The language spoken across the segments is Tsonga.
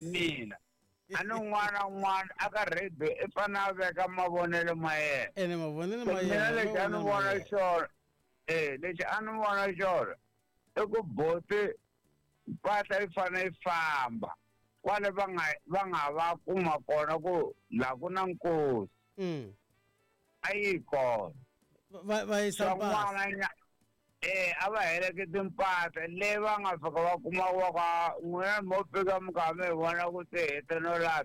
Mina a ni un'wana na un'wana a ka radio i fanele a veka mavonelo ma yena. Ene mavonelo ma mina yena lexi a ni mavonelo ma vona yena. xona lexi a ni vona xona i ku boti mpahla yi fanele yi famba kwale va nga va kuma kona ku la ku na nkosi. A yi kona. Va yisa swa mpahla. N'wana a va heleketi mpahla leyi va nga fika va kuma wa ka n'wina mo fika mi kha mi hi vona ku ti hete no lahla.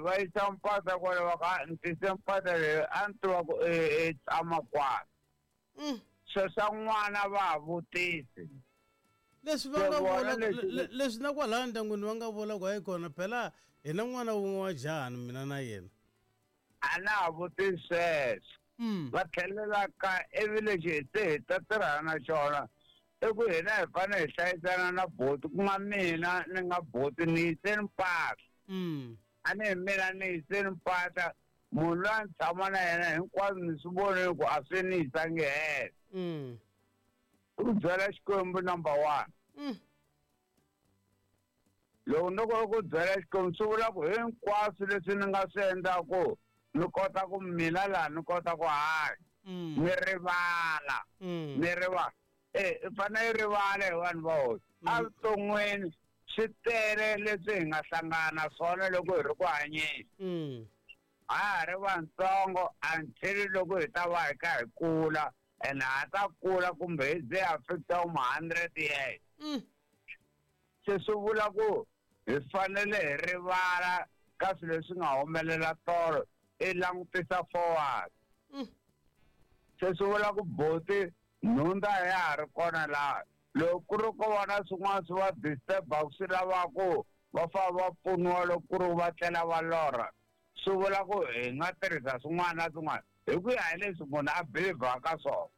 Va yisa mpahla kwale va ka ni tise mpahla leyi a ni tiva ku i tshama kwala. Swo swa n'wana va ha vutisi. Leswi va Se nga vona vula leswi na kwalaya ndyangwini va nga vula ku hayi kona phela hi na n'wana wun'we wa jahani mina na yena. A na ha vutisi sweswo. Va tlhelela ka ivi lexi se hi ta tirhana na xona i ku hina hi fanele hi hlayisana na boti ku nga mina ni nga boti ni yiseni mpahla. A ni hi mina ni yiseni mpahla munhu loyi a ni tshama na yena hinkwaswo ni swi vonile ku a swi ni yisangi helo. I ku byela Xikwembu number one. Loko no ku byela Xikwembu swi vula ku hinkwaswo leswi ni nga swi endlaku ni kota ku mina laha ni kota ku hanya. Ni rivala. Ni rivala. I fanele i rivala hi vanhu va hosi. Evuton'wini swi tele leswi hi nga hlangana na swona loko hi ri ku hanyeni. A ha ri vantsongo until loko hi ta va hi kha hi kula and ha ta kula kumbe hi ze ha fika uma 100 years. Se swi vula ku hi fanele hi rivala ka swilo leswi nga humelela tolo i langutisa forward. Se swi vula ku boti nhundza ya ha ri kona laha loko ku ri ko va na swin'wana swi va disturb-aku swi lavaku va fanele va pfuniwa loko ku ri va tlela va lorha swi vula ku hi nga tirhisa swin'wana na swin'wana hi ku ya hi leswi munhu a believe-aka ka swona.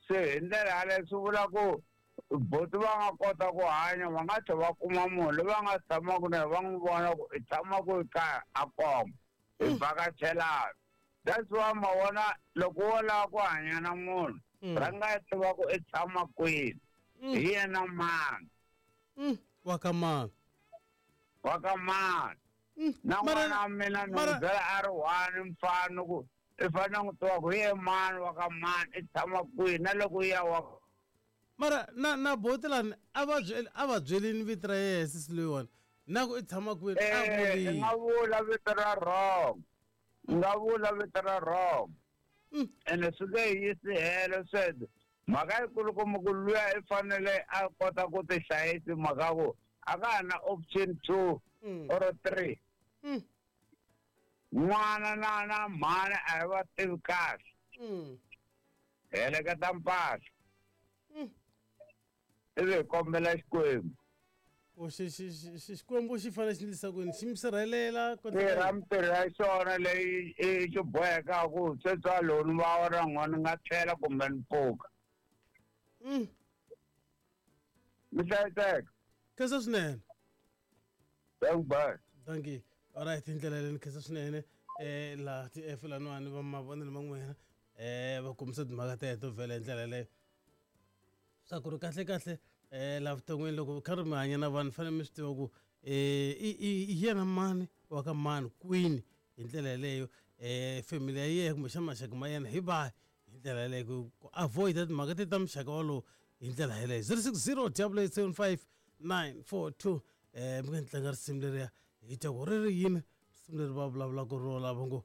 Se hi ndlela yaleyo swi vula ku boti va nga kota ku hanya va nga tlhela va kuma munhu loyi va nga tshamaka na yena va n'wi vona ku i tshama ku kaya a komba hi vhakachelana. That's why ma vona loko wo lava ku hanya na munhu rhanga i tiva ku i tshama kwini hi yena mani. Wa ka mani. Wa ka mani. Na n'wana wa mina ni n'wi byela a ri one mfana ku i fanele n'wi tiva ku hi ye mani wa ka mani i tshama kwihi na loko ya wa. Mara na boti lani a va byelini vito ra yena sisi loyiwani na ku i tshama kwini a I nga vula vito ra wrong. I nga vula vito ra wrong. Ene swi nge yisi helo sweswo. Mhaka yikulukumba ku luya i fanele a kota ku ti hlayisa mhaka ku a ka ha na option 2 or 3. N'wana na mhani a hi va tivi kahle. Heleketa mpahla. Ivi hi kombela Xikwembu. O Xikwembu xi fanele xi endlisa ku yini? Xi mi sirhelela ku Tirha mintirho ya xona leyi i xi bohekaka ku sweswi a loko ni va na n'wana ni nga tlhela kumbe ni pfuka. Mi hlayiseka. Khensa swinene. Thank bye. Thank you. All right, hi ndlela leyi ni khensa swinene. Laha ti F laniwani va mavonelo ma n'wina va kombisa timhaka teto vhela hi ndlela yaleyo. Swa ku ri kahle kahle laha vuton'wini loko kha ri mi hanya na vanhu fanele mi swi tiva ku i yena mani wa ka mani kwini hi ndlela yaleyo family ya yena kumbexana maxaka ma yena hi vahi hi ndlela yaleyo ku avoid timhaka ti ta muxaka walowo hi ndlela yaleyo. 060 double eight seven five nine four two. Mi nga ni tlanga risimu leriya hi twa ku ri ri yini risimu leri va vulavulaka ro lava ngo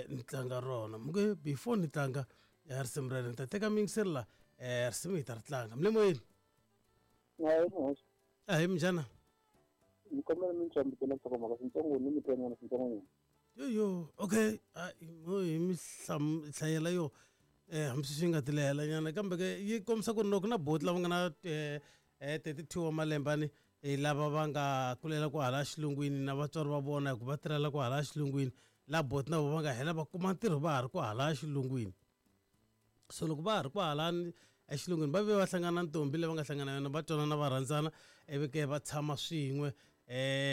ni tlanga rona. Mi nge before ni tlanga risimu rero ni ta teka miyingiseri la risimu hi ta ri tlanga. Mi le moyeni? Ahee, minjhani? Ni kombela mi ni xambukela nhlokomhaka swintsongo ni mi twa nyana swintsongonyana. Yo yo, okay, hi mi hlayela yo hambi swi nga ti lehela nyana kambe ke yi kombisa ku ri loko na boti lava nga na 32 wa malembe ani lava va nga kulela kwahala xilungwini na vatswari va vona hikuva va tirhela kwahala xilungwini la boti na vona va nga hela va kuma ntirho va ha ri kwahala xilungwini. So loko va ha ri kwahala exilungwini va ve va hlangana na ntombi leyi va nga hlangana na yona va twanana va rhandzana ivi ke va tshama swin'we.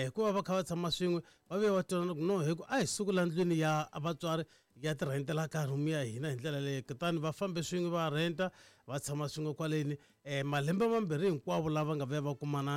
Hikuva va kha va tshama swin'we va ve va twanana ku no hi ku a hi suku la ndlwini ya vatswari ya ti rhentela ka room ya hina hi ndlela leyi kutani va fambe swin'we va rhenta va tshama swin'we kwaleni. um malembe mambirhi hinkwavo lava nga vuya va kumana.